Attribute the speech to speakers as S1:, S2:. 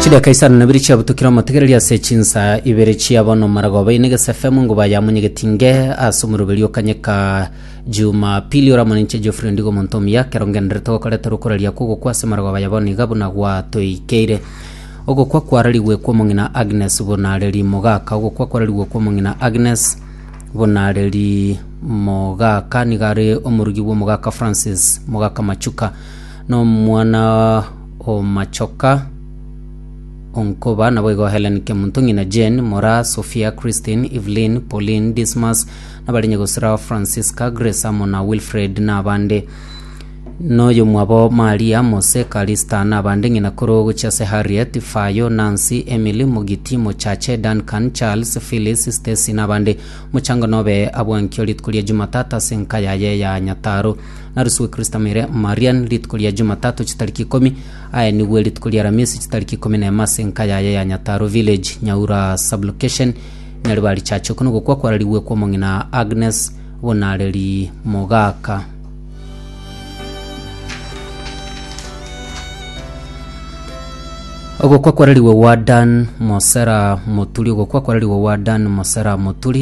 S1: Chidaka isano na ibere chiabutukire omotegereri ase chinsa ibere chia bono maragoba ine gese FM nguba ya munyegetinge ase omoroberi okanyeka Jumapili oramone inche Geoffrey Ondigo omonto omuya kero ngenderete gokoretera okoraria kw'ogokwa ase maragoba ya bono iga buna gwatoikeire. Ogokwa kwararigwe kw'omong'ina Agnes Bonareri Mogaka Ogokwa kwararigwe kw'omong'ina Agnes Bonareri Mogaka nigo are omorugi bw'omogaka Francis Mogaka Machuka na omwana o Machoka Onkoba naboigo Helen Kemunto ng'ina Jane, Moraa, Sophia, Christine, Evelyn, Pauline, Dismas, nabare nyagosira Francisca, Grace amo na Wilfred na abande. Noyomwabo Maria, Mose, Kalista, na abande ng'ina korwa gochia ase Harriet, Fayo, Nancy, Emily, Mogiti, Mochache, Duncan, Charles, Phyllis, Stacy, na abande. Omochango nobe abwankio rituko ria Jumatatu ase enka yaye ya Nyataro. Narusigwe Christamere Marian rituko ria Jumatatu chitariki ikomi, aenigwe rituko ria Aramisi chitariki ikomi nemo ase enka yaye ya Nyataro Village, Nyaura Sub-location, Nyaribari Church. Oko nogokwa kwararigwe kw'omong'ina Agnes Bonareri Mogaka. Ogokwa kwararigwe gwa Dan Mosera Moturi Ogokwa kwararigwe gwa Dan Mosera Moturi.